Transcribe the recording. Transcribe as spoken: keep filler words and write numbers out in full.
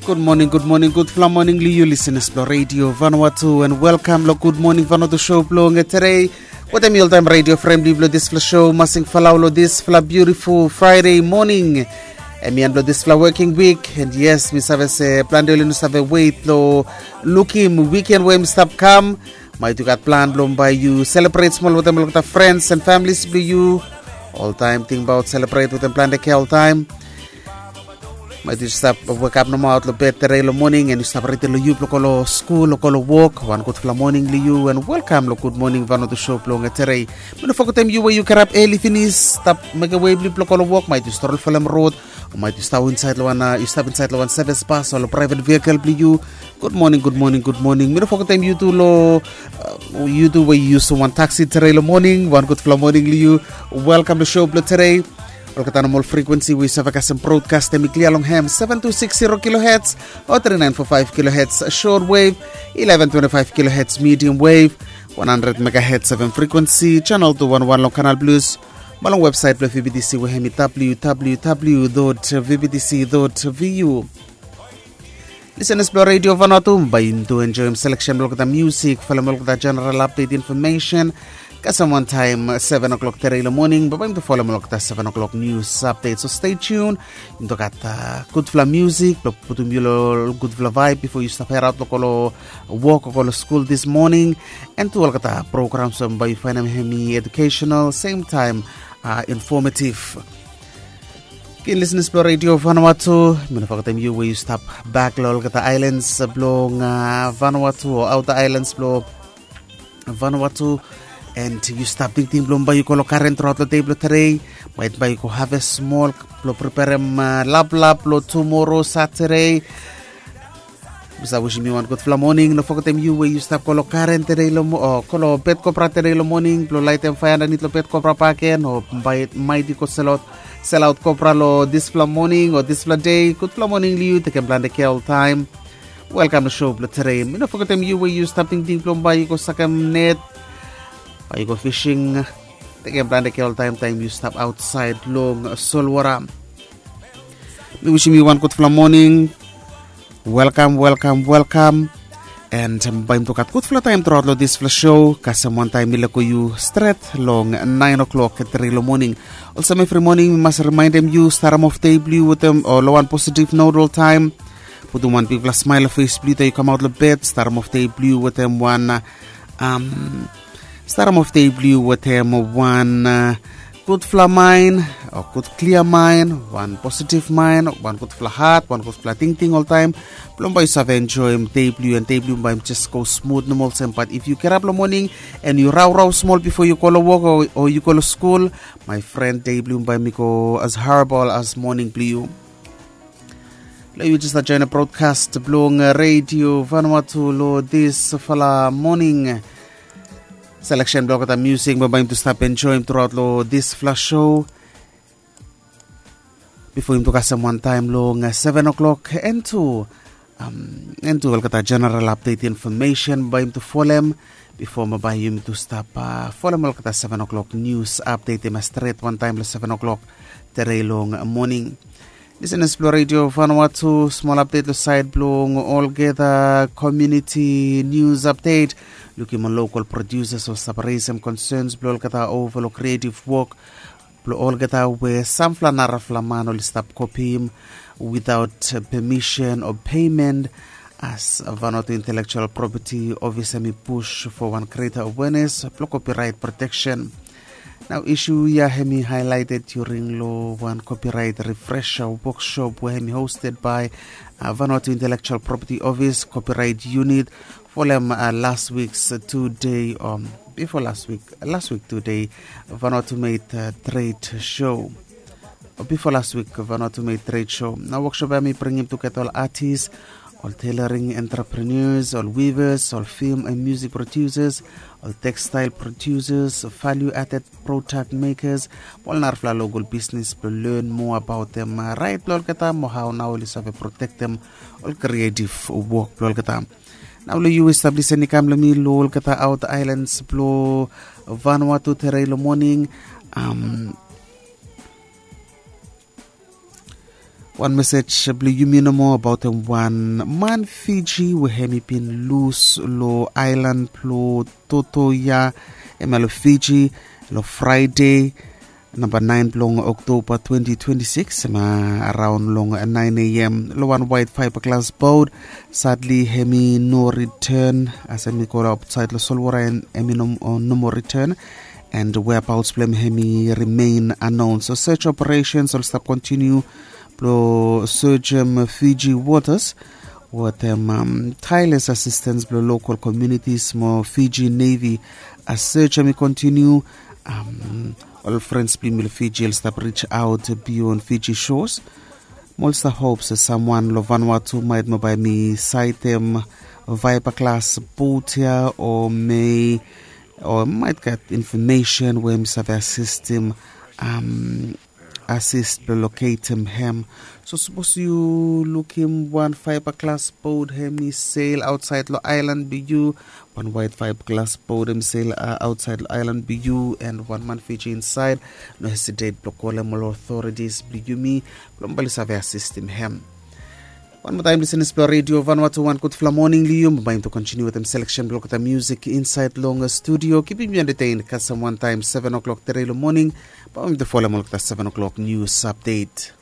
Gud moning, gud moning, gudfala moning long yu lisenas blong Radio Vanuatu, and welkam long Gud Moning Vanuatu show blong tere. Wetem yu oltaem radio fren blong yu blong disfala show, Masing Falau, long disfala beautiful Friday moning. Em i en blong disfala working week, and yes, mi save se plante oli no save wet long lukim wiken we mi stap kam. Maet yu gat plan blong bae yu selebret smol wetem olgeta frens and families blong yu. Oltaem tingbaot selebret wetem plante kea oltaem. Maet yu stap wekap nomo aot long bed tere long moning, and yu stap redi long yu blong go long skul o go long wok. Wan gudfala moning long yu, and welkam long Gud Moning Vanuatu show blong tere. Mi no fogetem yu we yu kirap eli finis, stap mekem wei blong yu blong go long wok. Maet yu strol folem rod, o maet yu stap insaed long wan, yu stap insaed long wan sevis bas o long praevet vehikel blong yu. Gud moning, gud moning, gud moning. Mi no fogetem yu tu long, yu tu we yu yusum wan taksi tere long moning. Wan gudfala moning long yu. Welkam long show blong tere. Olgeta nomol frekuensi we yu save kasem brodkast, em i klia long hem, seven two six zero kilohertz o three nine four five kilohertz short wave, eleven twenty five kilohertz medium wave, one hundred megahertz FM frekuensi, channel two one one long Kanal Plus, mo long websaet blong VBTC we hem i www dot vbtc dot vu. Lisenas blong Radio Vanuatu, bae yumi tu enjoem seleksen blong olgeta musik, folem olgeta general update information. Kasem wantaem seven o'clock tere long moning, bae bae yumi tu folem olgeta seven o'clock news update. So stay tuned. Yumi tu gat gudfala musik blong putum yu long gudfala vibe bifo yu stap heraot long go long wok o go long skul this morning. And tu olgeta programs we bae yu faenem hem i educational, same time informative. Ken lisenas blong Radio Vanuatu, mi no fogetem yu we yu stap bak long olgeta aelans blong Vanuatu o aota aelans blong Vanuatu. And yu stap tingting blong bae yu go long garen truaot long dei blong tere. Maet bae yu go haves smol blong preperem laplap blong tumoro Satade. Mi save wisim yu wan gudfala moning. No fogetem yu we yu stap go long garen tere long mo o go long bed kopra tere long moning blong laetem faea andanit long bed kopra bakegen, o bae maet yu go selaot, selaot kopra long disfala moning o disfala dei. Gudfala moning long yu, tekem plante kea oltaem. Welkam long show blong tere. Mi no fogetem yu we yu stap tingting blong bae yu go sakem net, bae yu go fising. Tekem plante kea oltaem taem yu stap aotsaed long solwota. Mi wisim yu wan gudfala moning. Welkam, welkam, welkam. And bae yumi tu gat gudfala taem truaot long disfala show. Kasem wantaem mi lego yu stret long nine o'clock tere long moning. Olsem evri moning mi mas rimaendem yu, starem of dei blong yu wetem o long wan positive note oltaem. Putum wan bigfala smael long fes blong yu taem yu kamaot long bed. Starem of dei blong yu wetem wan, am, starem of dei blong yu wetem wan gudfala maen o gud klia maen, wan positive maen, wan gudfala hat, wan gudfala tingting oltaem. Blong bae yu save enjoem dei blong yu, and dei blong yu bae jes go smut nomo olsem. Bat if yu kirap long moning and yu raorao smol bifo yu go long wok o yu go long skul, my friend, dei blong yu bae i go as horrible as moning blong yu. Long yu jes stap joenem brodkast blong Radio Vanuatu long disfala moning. Seleksen blong olgeta musik we bae yumi tu stap enjoem truaot long disfala show. Bifo yumi tu kasem wantaem long seven o'clock, and tu, am, and tu olgeta general update information bae yumi tu folem. Bifo mo bae yumi tu stap folem olgeta seven o'clock news update, i mas stret wantaem long seven o'clock tere long moning. Lisenas blong Radio Vanuatu, smol update long saed blong olgeta community news update. Lukim ol local producers oli stap resem concerns blong olgeta ova long creative work blong olgeta we samfala narafala man oli stap kopim without permission o payment. As Vanuatu Intellectual Property Office hem i push for wan greater awareness blong copyright protection. Nao isu ya hem i highlighted during long wan copyright refresher workshop we hem i hosted by Vanuatu Intellectual Property Office Copyright Unit folem last week's two-day, bifo last week, last week two-day Vanuatu Made Trade Show. Bifo last week Vanuatu Made Trade Show. Nao workshop ya hem i bringim tugeta ol artist, ol tailoring entrepreneurs, ol weavers, ol film and music producers, ol textile producers, value added product makers, ol narafala local business blong learn more about them, right, blong olgeta mo hao nao oli save protektem ol creative work blong olgeta. Nao long yu we stap lisen i kam long mi long olgeta outer islands blong Vanuatu tere long moning. Wan mesej blong yumi nomo abaotem wan man Fiji we hem i bin lus long ailan blong Totoya, hem ya long Fiji, long Fraide namba naen blong Oktoba twenty twenty-six, hem ya araon long naen a.m. long wan waet faebaglas bot. Sadli hem i no riten as hem i go aotsaed long solwota, en hem i no moa riten, and whereabouts blong hem hem i remain unknown. So search operations oli stap kontiniu blong search em Fiji waters wetem tireless assistance blong local communities mo Fiji Navy. A search em i kontiniu. Ol frens blong yumi long Fiji oli stap reach out beyond Fiji shores. Mo oli stap hop se samwan long Vanuatu maet mo bae hem i saetem faebaglas bot ya o mei o maet gat infomesen we hem i save asistem, asist blong loketem hem. So sapos yu lukim wan faebaglas bot hem i sel aotsaed long aelan blong yu, wan waet faebaglas bot hem i sel aotsaed long aelan blong yu, en wan man Fiji insaed, no hesitet blong kolem ol otoritis blong yumi blong bae oli save asistem hem. Wan moa taem, lisenas blong redio Vanuatu, wan gudfala moning long yu. Bae yumi tu kontiniu wetem seleksen blong olgeta musik insaed long studio. Kipim yu entetein kasem wantaem seven o'clock tere long moning. Bae yumi tu folem olgeta seven o'clock nius apdet.